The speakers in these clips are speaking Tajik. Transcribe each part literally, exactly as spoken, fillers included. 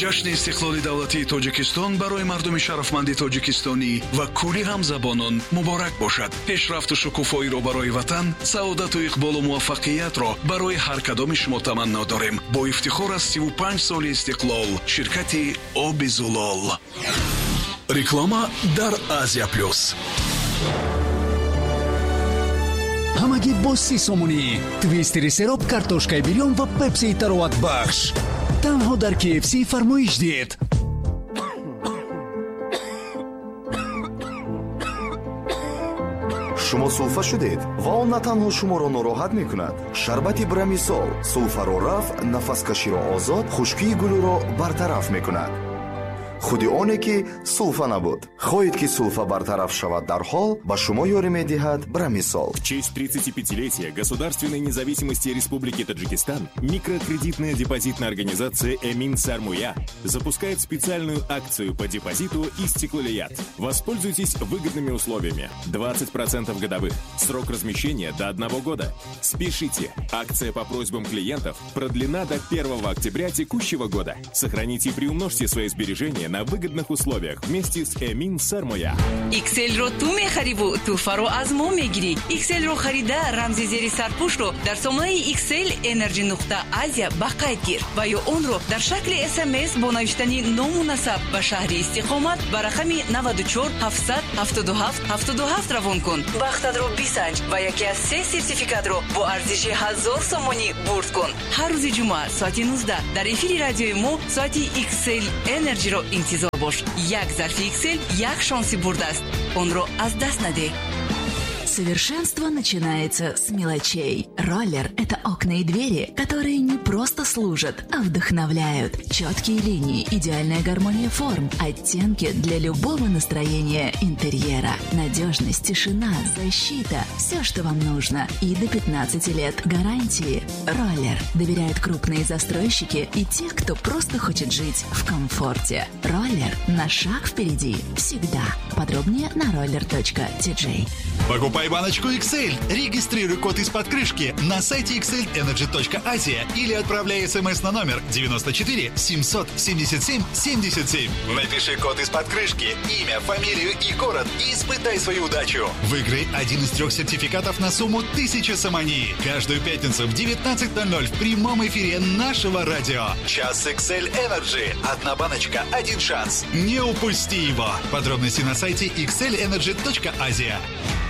Ҷашни истиқлоли давлатии Тоҷикистон барои мардуми шарафманди тоҷикистонӣ ва кулли ҳамзабонон муборак бошад. Пешрафту шукуфоиро барои ватан, саодату иқболу муваффақиятро барои ҳар кадоми шумо таманно дорем. Бо ифтихор аз сиву панҷ соли истиқлол, ширкати Оби Зулол. Реклама дар Азия Плюс. Ҳамагӣ бо си сомонӣ. Твистери сероб, картошкаи бирён ва пепсии тароватбахш. Танҳо дар K F C фармоиш диҳед. Шумо сулфа шудед ва он на танҳо шуморо нороҳат мекунад. Шарбати Брамисол сулфаро рафъ, нафаскаширо озод, хушкии гулӯро бартараф мекунад. Худи оне ки сулфа набуд. Хоҳед ки сулфа бартараф шавад дарҳол, ба шумо ёрӣ медиҳад Брамисол. В честь тридцатипятилетия государственной независимости Республики Таджикистан микрокредитная депозитная организация Эмин Сармуя запускает специальную акцию по депозиту Истиклолият. Воспользуйтесь выгодными условиями. двадцать процентов годовых. Срок размещения до одного года. Спешите! Акция по просьбам клиентов продлена до первого октября текущего года. Сохраните и приумножьте свои сбережения на выгодных условиях вместе с Эмин Сармоя. Икселро ту мехариву, туҳфаро аз мо мегирӣ. Икселро харида, рамзи зери сарпӯшро дар сомонаи Иксел Energy нуқта Азия ба қайд гир ва ё онро дар шакли С М С бо навиштани ному насаб ба шаҳри истиқомат ба рақами наваду чор ҳафтсад ҳафтоду ҳафт ҳафтоду ҳафт равон кун. Бахтатро бисанҷ ва яке аз се сертификатро бо арзиши ҳазор сомонӣ бурд кун. Ҳар рӯзи ҷумъа соати нуздаҳ дар эфири радиои мо соати Иксел Energy-ро интизор бош. Як зарфи Иксел як шонси бурдааст. Онро аз даст надеҳ. Совершенство начинается с мелочей. Роллер – это окна и двери, которые не просто служат, а вдохновляют. Четкие линии, идеальная гармония форм, оттенки для любого настроения интерьера. Надежность, тишина, защита – все, что вам нужно. И до пятнадцати лет гарантии. Роллер доверяют крупные застройщики и те, кто просто хочет жить в комфорте. Роллер на шаг впереди всегда. Подробнее на roller точка ти джей. Покупай баночку X L. Регистрируй код из-под крышки на сайте X L Energy точка Asia или отправляй смс на номер девяносто четыре семьсот семьдесят семь семьдесят семь. Напиши код из-под крышки, имя, фамилию и город и испытай свою удачу. Выиграй один из трех сертификатов на сумму тысяча сомони. Каждую пятницу в девятнадцать ноль ноль в прямом эфире нашего радио. Час X L Energy. Одна баночка, один шанс. Не упусти его. Подробности на сайте X L Energy точка Asia.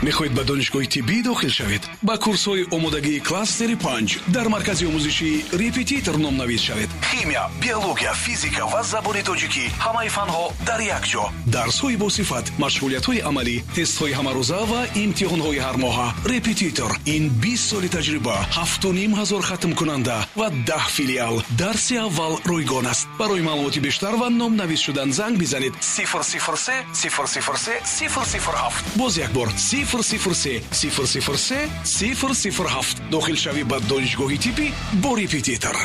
Мехоҳед ба донишгоҳи тиббӣ дохил шавед? Ба курсҳои омодагии кластери панҷ дар маркази омӯзишии Репетитор номнавис шавед. Химия, биология, физика ва забони тоҷикӣ, ҳамаи фанҳо дар як ҷо. Дарсҳои босифат, машғулиятҳои амалӣ, тестҳои ҳамарӯза ва имтиҳонҳои ҳармоҳа. Репетитор ин бист соли таҷриба, ҳафту ним ҳазор хатмкунанда ва даҳ филиал. Дарси аввал ройгон аст. Барои маълумоти бештар ва номнавис шудан занг бизанед: сифр сифр се сифр сифр се сифр сифр ҳафт. Боз як бор: сифр сифр се сифр сифр се сифр сифр ҳафт. Дохилшавӣ ба донишгоҳи тиббӣ бо Репетитор.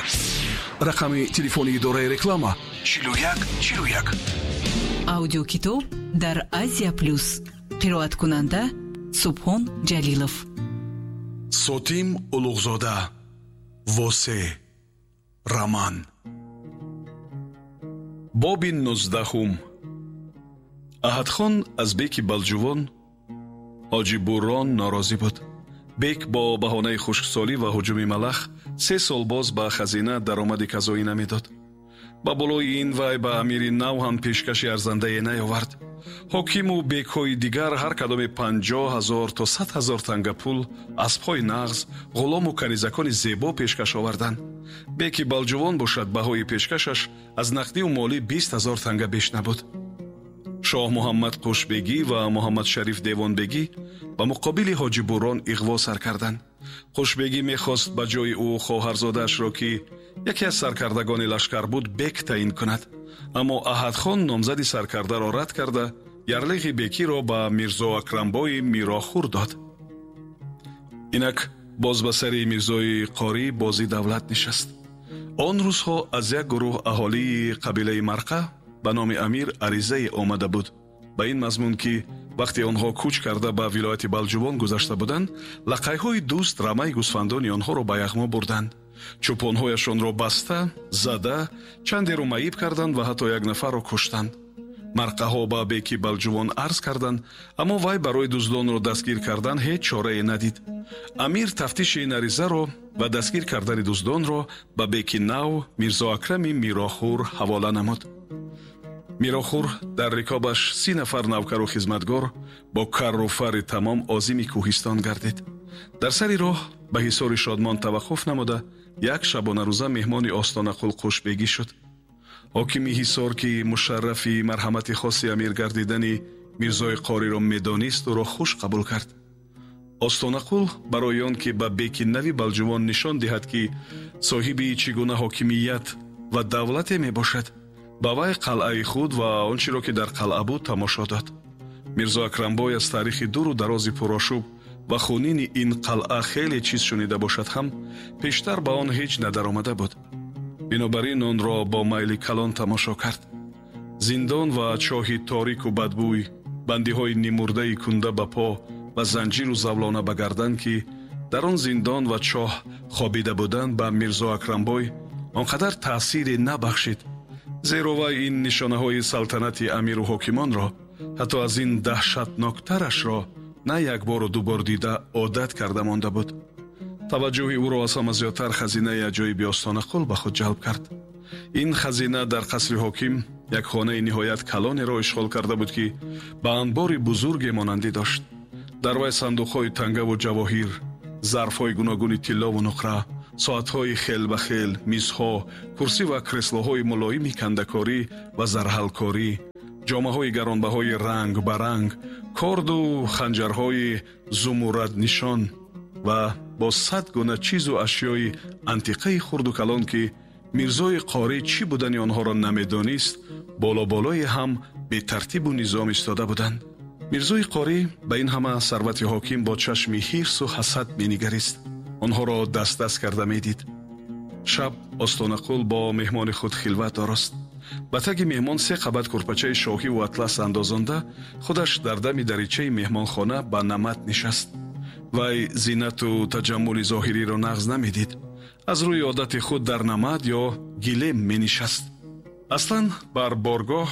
Рақами телефони идораи реклама: чилу як чилу як. Аудиокитоб дар Азия Плюс. Қироаткунанда Субҳон Ҷалилов. Сотим Улуғзода, Восе. Роман. Боби нуздаҳум. Аҳадхон аз беки Балҷувон Ҳоҷи Буррон норозӣ буд. Бек бо баҳонаи хушксолӣ ва ҳуҷуми малах се сол боз ба хазина даромади казоӣ намедод. Ба болои ин вай ба амири нав ҳам пешкаши арзандае наёвард. Ҳокиму бекҳои дигар ҳар кадоме панҷоҳ ҳазор то сад ҳазор танга пул, аспҳои нағз, ғулому канизакони зебо пешкаш оварданд. Беки Балҷувон бошад, баҳои пешкашаш аз нақдиву молӣ бист ҳазор танга беш набуд. Шоҳ Муҳаммад Қушбегӣ ва Муҳаммадшариф Девонбегӣ ба муқобили Ҳоҷи Бурон иғво сар карданд. Қушбегӣ мехост ба ҷои ӯ хоҳарзодаашро, ки яке аз саркардагони лашкар буд, бек таъин кунад. Аммо Аҳадхон номзади саркардаро рад карда, ярлиғи бекиро ба Мирзо Акрамбои Мирохур дод. Инак боз ба сари Мирзои Қорӣ бози давлат нишаст. Он рӯзҳо аз як гурӯҳ аҳолии қабилаи Марқа ба номи амир аризае омада буд ба ин мазмун, ки вақте онҳо кӯч карда ба вилояти Балҷувон гузашта буданд, лақайҳои дӯст рамаи гӯсфандони онҳоро ба яғмо бурданд. Чӯпонҳояшонро баста, зада, чандеро маъиб карданд ва ҳатто як нафарро куштанд. Марқаҳо ба беки Балҷувон арз карданд, аммо вай барои дуздонро дастгир кардан ҳеҷ чорае надид. Амир тафтиши ин аризаро ва дастгир кардани дуздонро ба беки нав Мирзо Акрами Мирохур ҳавола намуд. Мирохур дар рикобаш си нафар навкару хизматгор бо карру фарри тамом озими кӯҳистон гардид. Дар сари роҳ ба ҳисори Шодмон таваққуф намуда, як шабонарӯза меҳмони Остонақул Қушбегӣ шуд. Ҳокими ҳисор, ки мушаррафи марҳамати хоси амир гардидани Мирзои Қориро медонист, ӯро хуш қабул кард. Остонақул барои он ки ба беки нави Балҷувон нишон диҳад, ки соҳиби чӣ гуна ҳокимият ва давлате мебошад, ба вай қалъаи худ ва он чиро ки дар қалъа буд тамошо дод. Мирзо Акрамбой аз таърихи дуру дарози пурошӯб ва хунини ин қалъа хеле чиз шунида бошад ҳам, пештар ба он ҳеҷ надаромада буд. Бинобар ин онро бо майли калон тамошо кард. Зиндон ва чоҳи торику бадбӯй, бандиҳои нимурдаи кунда ба по ва занҷиру завлона ба гардан, ки дар он зиндон ва чоҳ хобида буданд, ба Мирзо Акрамбой он қадар таъсире набахшид, зеро вай ин нишонаҳои салтанати амиру ҳокимонро, ҳатто аз ин даҳшатноктарашро на як бору ду бор дида одат карда монда буд. Таваҷҷӯҳи ӯро аз ҳама зиёдтар хазинаи аҷоиби Остонақул ба худ ҷалб кард. Ин хазина дар қасри ҳоким як хонаи ниҳоят калонеро ишғол карда буд, ки ба анбори бузурге монандӣ дошт. Дар вай сандуқҳои тангаву ҷавоҳир, зарфҳои гуногуни тиллову нуқра, соатҳои хел ба хел, мизҳо, курсӣ ва креслоҳои мулоими кандакорӣ ва зарҳалкорӣ, ҷомаҳои гаронбаҳои ранг ба ранг, корду ханҷарҳои зумурраднишон ва бо сад гуна чизу ашёи антиқаи хурду калон, ки Мирзои Қорӣ чӣ будани онҳоро намедонист, боло-болои ҳам бетартибу низом истода буданд. Мирзои Қорӣ ба ин ҳама сарвати ҳоким бо чашми ҳирсу ҳасад менигарист, онҳоро даст-даст карда медид. Шаб Остонақул бо меҳмони худ хилват орост. Ба таги меҳмон се қабат курпачаи шоҳиву атлас андозонда, худаш дар дами даричаи меҳмонхона ба намат нишаст. Вай зинату таҷаммули зоҳириро нағз намедид. Аз рӯи одати худ дар намад ё гилем менишаст. Аслан бар боргоҳ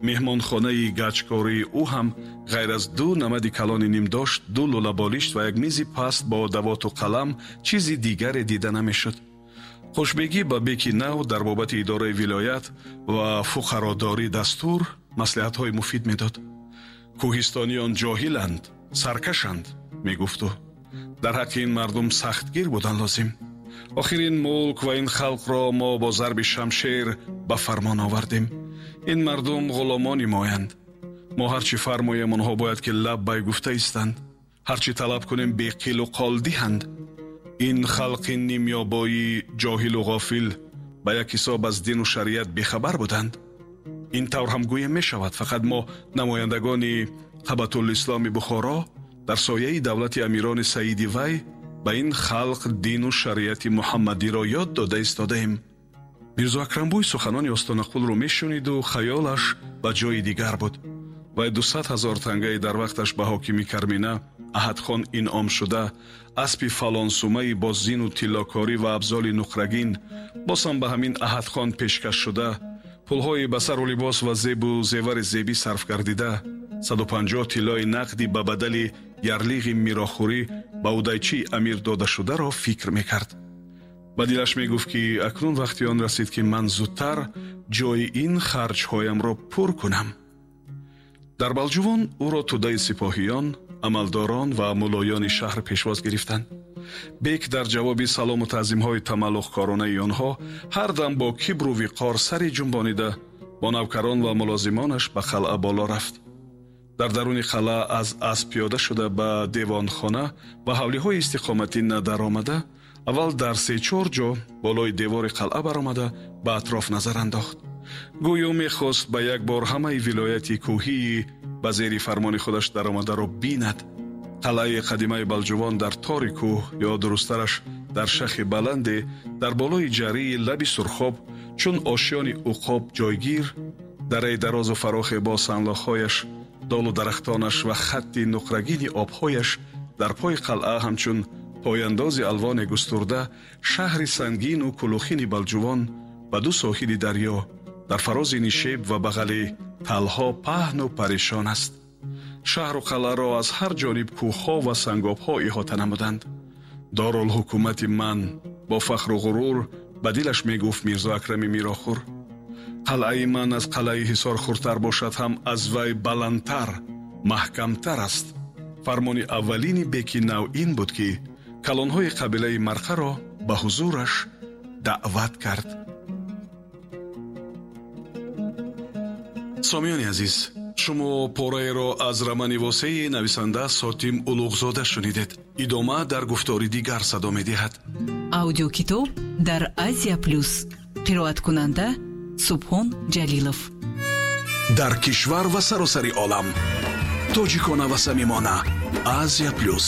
меҳмонхонаи гачкории ӯ ҳам ғайр аз ду намади калони нимдошт, ду лӯлаболишт ва як мизи паст бо давоту қалам чизи дигаре дида намешуд. Хушбегӣ ба беки нав дар бобати идораи вилоят ва фуқародорӣ дастур маслиҳатҳои муфид медод. Кӯҳистониён ҷоҳиланд, саркашанд, мегуфт ӯ. Дар ҳаққи ин мардум сахтгир будан лозим. Охир ин мулк ва ин халқро мо бо зарби шамшер ба фармон овардем. Ин мардум ғуломони моянд. Мо ҳар чӣ фармоем, онҳо бояд ки лаб бай гуфта истанд. Ҳар чӣ талаб кунем, беқилу қол диҳанд. Ин халқи нимёбоӣ ҷоҳилу ғофил ба як ҳисоб аз дину шариат бехабар буданд. Ин тавр ҳам гӯем мешавад, фақат мо намояндагони Қабатулисломи Бухоро дар сояи давлати амирони саиди вай ба ин халқ дину шариати муҳаммадиро ёд дода истодаем. Мирзо Акрамбой суханони Остонақулро мешуниду хаёлаш ба ҷои дигар буд. Вай дусад ҳазор тангаи дар вақташ ба ҳокими Кармина Аҳадхон инъом шуда, аспи фалонсумаи бо зину тиллокорӣ ва абзоли нуқрагин боз ҳам ба ҳамин Аҳадхон пешкаш шуда, пулҳои ба сару либос ва зебу зевари зебӣ сарф гардида, саду панҷоҳ тиллои нақдӣ ба бадали ярлиғи мирохӯрӣ ба удайчии амир додашударо фикр мекард. Ба дилаш мегуфт, ки акнун вақти он расид, ки ман зудтар ҷои ин харҷҳоямро пур кунам. Дар Балҷувон ӯро тӯдаи сипоҳиён, амалдорон ва мулоёни шаҳр пешвоз гирифтанд. Бек дар ҷавоби салому таъзимҳои тамаллуқкоронаи онҳо ҳар дам бо кибру виқор сари ҷунбонида бо навкарон ва мулозимонаш ба қалъа боло рафт. Дар даруни қалъа аз асп пиёда шуда ба девонхона ва ҳавлиҳои истиқоматӣ надаромада, аввал дар се-чор ҷо болои девори қалъа баромада ба атроф назар андохт. Гӯё мехост ба як бор ҳамаи вилояти кӯҳии ба зери фармони худаш даромадаро бинад. Қалъаи қадимаи Балҷувон дар тори кӯҳ ё дурусттараш дар шахи баланде дар болои ҷарии лаби Сурхоб чун ошёни уқоб ҷойгир, дараи дарозу фарохе бо санлохҳояш, долу дарахтонаш ва хатти нуқрагини обҳояш дар пои қалъа ҳамчун Пойандози алвоне густурда, шаҳри сангину кулухини Балҷувон ба ду соҳили дарё дар фарози нишеб ва бағали талҳо паҳну парешон аст. Шаҳру қалъаро аз ҳар ҷониб кӯҳҳо ва сангобҳо иҳота намуданд. Дорулҳукумати ман, бо фахру ғурур ба дилаш мегуфт Мирзо Акрами Мирохур. Қалъаи ман аз қалъаи Ҳисор хурдтар бошад ҳам, аз вай баландтар, маҳкамтар аст. Фармони аввалини беки нав ин буд, ки калонҳои қабилаи Марқаро ба ҳузураш даъват кард. Сомиёни азиз, шумо пораеро аз романи восеи нависанда Сотим Улуғзода шунидед. Идома дар гуфтори дигар садо медиҳад. Аудиокитоб дар Азия Плюс. Қироаткунанда Субҳон Ҷалилов. Дар кишвар ва саросари олам тоҷикона ва самимона, Азия Плюс.